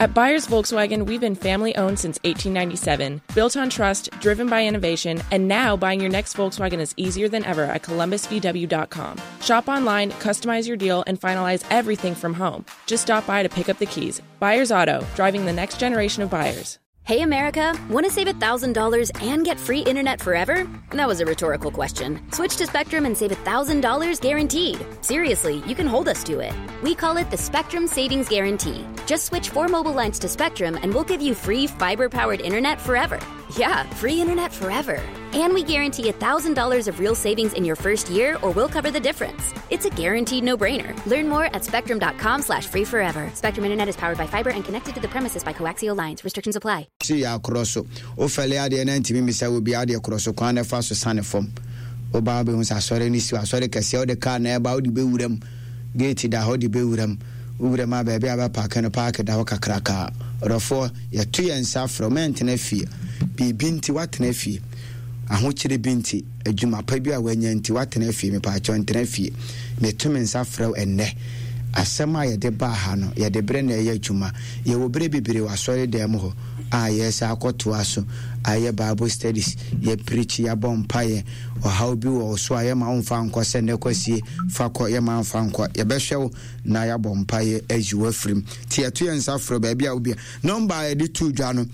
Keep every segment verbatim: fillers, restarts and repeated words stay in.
At Byers Volkswagen, we've been family owned since eighteen ninety-seven, built on trust, driven by innovation, and now buying your next Volkswagen is easier than ever at Columbus V W dot com. Shop online, customize your deal, and finalize everything from home. Just stop by to pick up the keys. Byers Auto, driving the next generation of buyers. Hey, America, wanna save a thousand dollars and get free internet forever? That was a rhetorical question. Switch to Spectrum and save a thousand dollars guaranteed. Seriously, you can hold us to it. We call it the Spectrum Savings Guarantee. Just switch four mobile lines to Spectrum and we'll give you free fiber-powered internet forever. Yeah, free internet forever. And we guarantee a thousand dollars of real savings in your first year, or we'll cover the difference. It's a guaranteed no-brainer. Learn more at spectrum dot com slash free forever. Spectrum Internet is powered by fiber and connected to the premises by coaxial lines. Restrictions apply. See ya cross. Ofele ade na ntimi misa obi ade cross kwan na fa so sane fam. Oba be hu sa sɔre ni si asɔre kɛseɛ ɔde car na ɛba ɔde bewuram. Gate da hɔ de bewuram. Wuram a baabi a bɛ park no park da hɔ kakraka. Ɔdɔfoɔ yɛto yɛn nsa frɛ mɛntena fie. Biribi nti watena fie. Ahokyere bi nti adwuma pa bi a wanya nti watena fie, mepaakyɛw ntena fie. Meto me nsa frɛ wo ɛnnɛ. Asɛm a yɛde baa ha no yɛde berɛ na ɛyɛ adwuma. Yɛwɔ berɛ bebree wɔ asɔre dan mu hɔ a yɛsa akɔtoa so ayɛ Bible studies, yɛ preach, yɛabɔ mpaeɛ. Ɔhaw bi wɔ wo so a yɛma wo mfa nkɔ sɛ nnɛ kwasie fa kɔ, yɛma mfa nkɔ. Yɛbɛhwɛ wo na yɛabɔ mpaeɛ ayi wo afirim. Nti yɛto yɛn nsa frɛ baabi a wobia. Nɔmba a yɛde too dwa no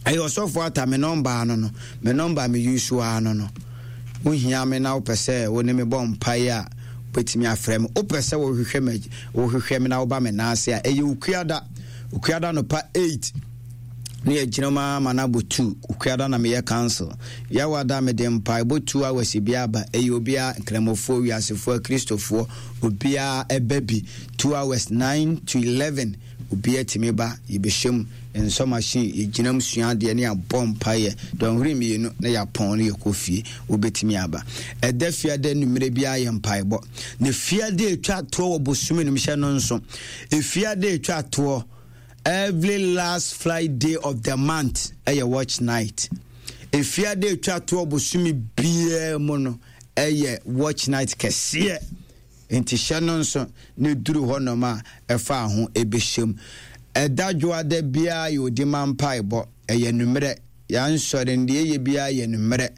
ɛyɛ ɔsɔfo ata me nɔmba ano no, me nɔmba me use ano no. Wohia me na wopɛ sɛ wo ne me bɔ mpaeɛ a wobɛtumi afrɛ me. Wopɛ sɛ wohwehwɛ me, wohwehwɛ me na woba me nan ase a ɛyɛ Okuada. Okuada no pa eight ne yɛgyina mu ama no abɔ two. Okuada na meyɛ council. Yɛwada mede mpaebɔ two hours bi aba. Ɛyɛ obiara, nkramofoɔ, wiasefoɔ, akristofoɔ, obiara ɛba bi. two hours, nine to eleven, obiara tumi ba, yɛbɛhyɛ mu. Nsɔ machine, yɛgyina mu sua adeɛ ne yɛabɔ mpaeɛ. Dɔnhwere mmienu na yɛapɔn ne yɛkɔ fie. Wobɛtumi aba. Ɛda fiada nnummerɛ biara yɛ mpaebɔ. Na fiada etwa toɔ wɔ bosome no mu hyɛ no nso. Efiada etwa toɔ every last Friday of the month ɛyɛ watch night. Efiada etwa toɔ bosome biara mu no ɛyɛ watch night kɛseɛ. Nti hyɛ no nso ne duru hɔ nom a ɛfa ho ɛbɛhyɛm. Ɛda dwoada biara yɛ odi ma mpaebɔ. Ɛyɛ nummerɛ. Yɛansɔre ndeɛ yɛ biara yɛ nummerɛ.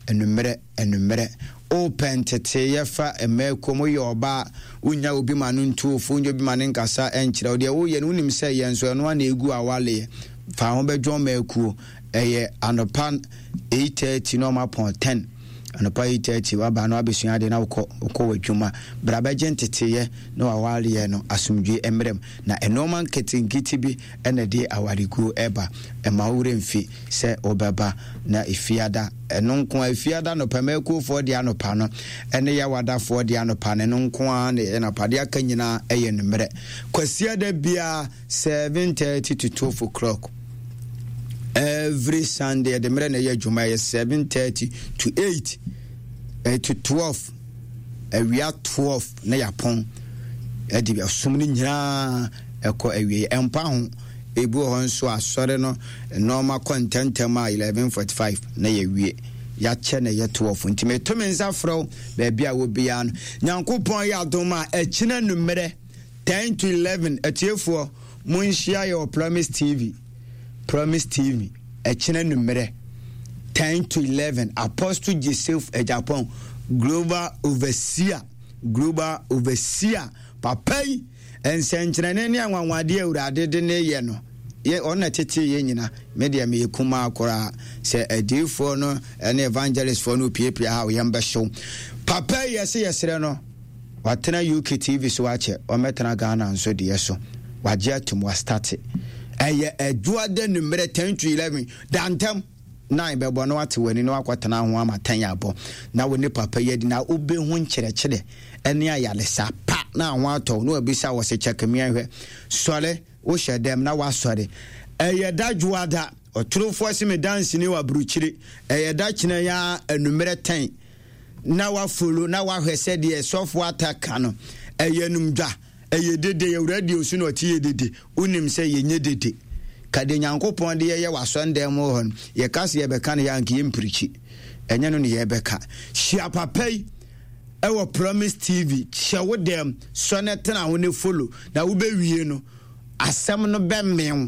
Enummerɛ, enummerɛ. Wopɛ nteteyɛ fa mmaako mu, woyɛ ɔbaa, wonya obi ma no ntuofo, wonya obi ma ne nkasa nkyerɛ wo. Deɛ woyɛ no, wonim sɛ yɛn nso ɛno ana egu awaleɛ. Fa ho bɛdwɔn mmaako. Ɛyɛ anɔpa eight thirty na ɔma pɔn ten. Anɔpa eight thirty waba na wabɛsua adeɛ na wokɔ, wokɔ w'adwuma. Bra bɛgye nteteyɛ na wawaleɛ no asomdwie mmerɛ mu. Na nneɛma nketenkete bi ɛna de awareguo ɛba. Ɛma wo werɛ mfi sɛ wobɛba na efiada. Ɛno nko a efiada anɔpa mmakuofoɔ de anɔpa no ɛne yawadafoɔ de anɔpa no, ɛno nko ara na ɛyɛ anɔpa. Deɛ aka nyinaa ɛyɛ nummerɛ. Kwasiada biara seven thirty to twelve o'clock. Every Sunday ɛde mmerɛ na ɛyɛ adwuma ɛyɛ seven thirty to eight, eh, to twelve. Awia twelve na yɛapɔn. Ɛde ɛsom no nyinaa ɛkɔ awie. Ɛmpa ho. Ebi wɔ hɔ nso asɔre no nneɛma kɔ ntɛntɛm a eleven forty-five na yɛwie. Yɛakyɛ na ɛyɛ twelve. Nti meto me nsa frɛ wo baabi a wɔ biara no. Nyankopɔn yɛ adom a ɛkyina nummerɛ ten to eleven. Atiefoɔ monhyia yɛ wɔ Promise T V. Promise T V ɛkyina nummerɛ ten to eleven. Apostle Joseph Agyapong, Global Overseer, Global Overseer. Papa yi nsɛnkyerɛnne ne anwanwadeɛ Awurade de ne yɛ no, yɛ ɔno na tete yɛ nyina. Me deɛ meyɛ kumaa koraa. Sɛ adiyifoɔ no ne evangelistfoɔ no piapia ha, yɛn bɛhyew. Papa yi yɛse yɛsrɛ no, watena U K T V so akyɛ, ɔmmɛtena Ghana nso deɛ so. Wagye atum, wastate. Ɛyɛ adwoada nummerɛ ten to eleven. Dantam nine bɛbɔ na wate w'ani na wakɔtena ho ama ten abɔ. Na wo ne papa yi adi na wobɛhu nkyerɛkyerɛ ɛne ayaresa pa na ho atɔ na wabisa wɔ sɛ kyɛkemea hwɛ. Sɔre, wohyɛ dɛm na wasɔre. Ɛyɛ da dwoada. Ɔtorofoɔ se me danseni wɔ aburukyiri. Ɛyɛ da kyena ya anummerɛ ten. Na wafolo na wahwɛ sɛdeɛ sɔfo ata ka no. Ɛyɛ numdwa. Ɛyɛ dede. Awurade deɛ osu na ɔte yɛ dede. Wonim sɛ yɛnyɛ dede. Ka de Nyankopɔn de yɛyɛ w'asɔndan mu hɔ no, yɛka sɛ yɛbɛka no yɛ anka yɛmpirikyi. Ɛnyɛ no ne yɛbɛka. Hyia papa yi ɛwɔ Promise T V. Hyɛ wo dɛm, sɔ ne tena ho ne follow. Na wobɛwie no, asɛm no bɛmmew.